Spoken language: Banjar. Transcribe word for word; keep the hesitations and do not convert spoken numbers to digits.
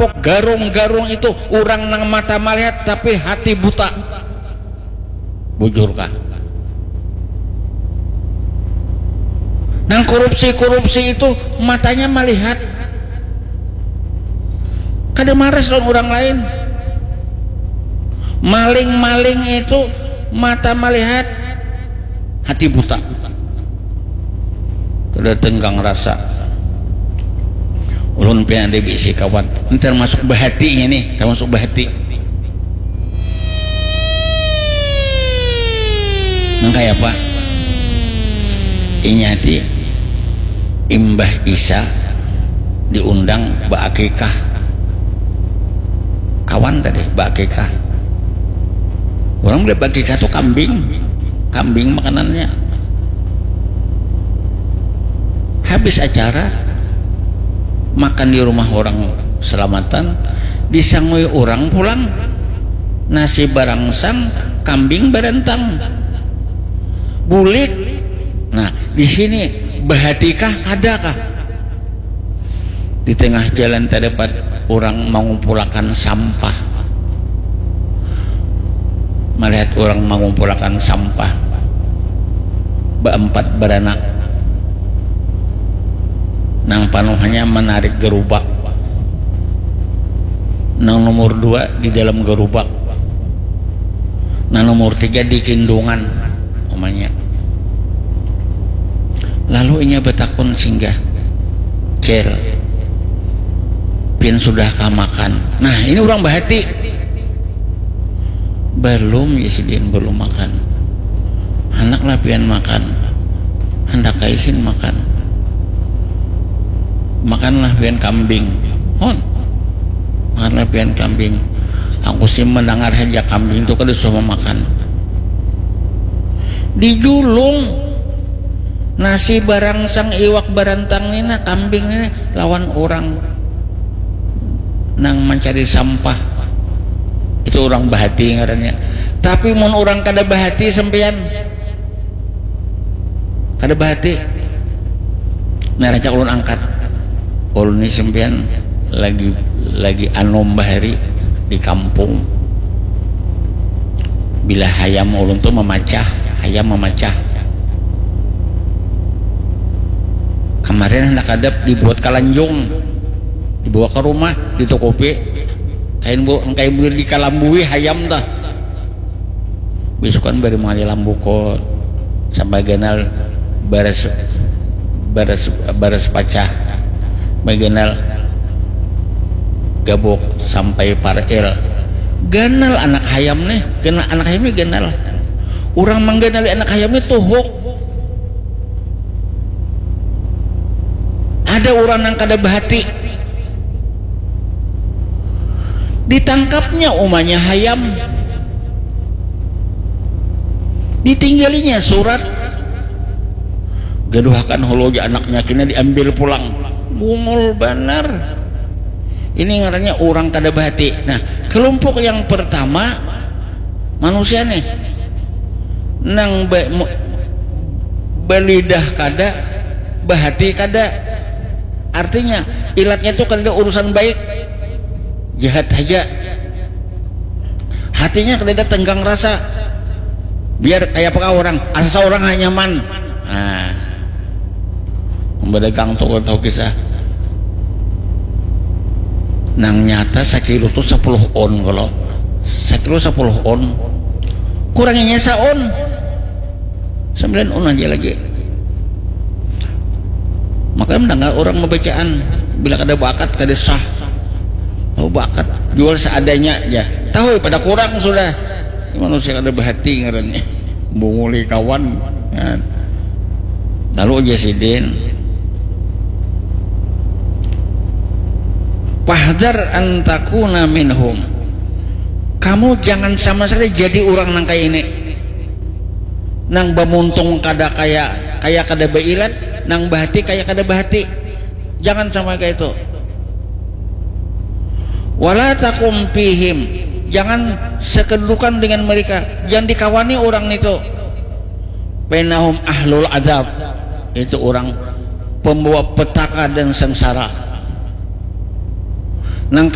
Pok garung-garung itu urang nang mata malihat tapi hati buta. Bujur kah? Nang korupsi-korupsi itu matanya malihat. Kada maras lawan urang lain. Maling-maling itu mata malihat, hati buta. Kada tenggang rasa. Ulun pian ada bisi kawan. Ini termasuk bahatinya nih, termasuk bahati. Nang kaya apa? Inya ti imbah isa diundang baakikah. Kawan tadi baakikah. Orang boleh baakikah tuh kambing. Kambing makanannya. Habis acara, makan di rumah orang selamatan, disangui orang pulang. Nasi barangsang, kambing barantang. Bulik. Nah, di sini bahatikah kadakah? Di tengah jalan terdapat orang mengumpulakan sampah. Melihat orang mengumpulakan sampah. Baempat beranak. Nang panuhnya menarik gerubak. Nang nomor dua di dalam gerubak. Nang nomor tiga di kindungan. Umanya. Lalu inya batakun singgah, "Cil, pian sudahkah makan?" Nah, ini urang bahati. "Balum," jar sidin, "balum makan." "Handaklah pian makan." "Handak ai sin makan." "Makanlah pian kambing." "Hon, makanlah pian kambing." Aku sih mendengar saja kambing itu kada suah memakan. Dijulung nasi barangsang, iwak barantang nina, kambing nina lawan orang nang mencari sampah. Itu orang bahati ngarannya. Tapi mun orang kada bahati sampean, kada bahati. Nah, rancak ulun angkat. Ulun ni sampean lagi, lagi anom bahari di kampung. Bila hayam ulun tu mamacah, hayam mamacah. Kamarin handak hadap dibuat kalanjung, dibawa ka rumah, ditukupi. Kain bu, kain bu dikalambui hayam tah. Bisukan bari mangali lambu ko sampai ganal baras, baras, baras pacah. Baganal gabuk sampai paril. Ganal anak hayam nih, ganal anak hayam nih ganal. Urang mangganali anak hayam nih tuhuk. Ada urang nang kada bahati. Ditangkapnya umanya hayam. Ditinggalinya surat. Gaduhakan hulu ja anaknya, kena diambil pulang. Bungul banar. Ini ngarannya urang kada bahati. Nah, kelompok yang pertama manusia nih. Nang ba-, mu-, balidah kada, bahati kada. Artinya, ilatnya tu kada urusan baik. Jahat haja. Hatinya kada tenggang rasa. Biar kaya apa kah orang, asa orang ha nyaman. Nah. Badagang tu kada tahu kisah. Nang nyata sakilo tu sapuluh on kalo. Sakilo sapuluh on. Kuranginya saon. Sambilan on aja lagi. Makanya mendengar orang membacaan, bila kada bakat kada sah. Oh, bakat, jual seadanya aja. Tahu pada kurang sudah. Ini manusia kada bahati ngarannya. Bunguli kawan. Nah. Lalu aja sidin. Fahdar antakuna minhum. Kamu jangan sama sekali jadi orang nang kayak ini. Nang bamuntung kada kaya, kaya kada bailat, nang bahati kaya kada bahati. Jangan sampai kayak itu. Wala takum fihim. Jangan sekedudukan dengan mereka. Jangan dikawani orang itu. Penahum ahlul adab. Itu orang pembawa petaka dan sengsara. Nang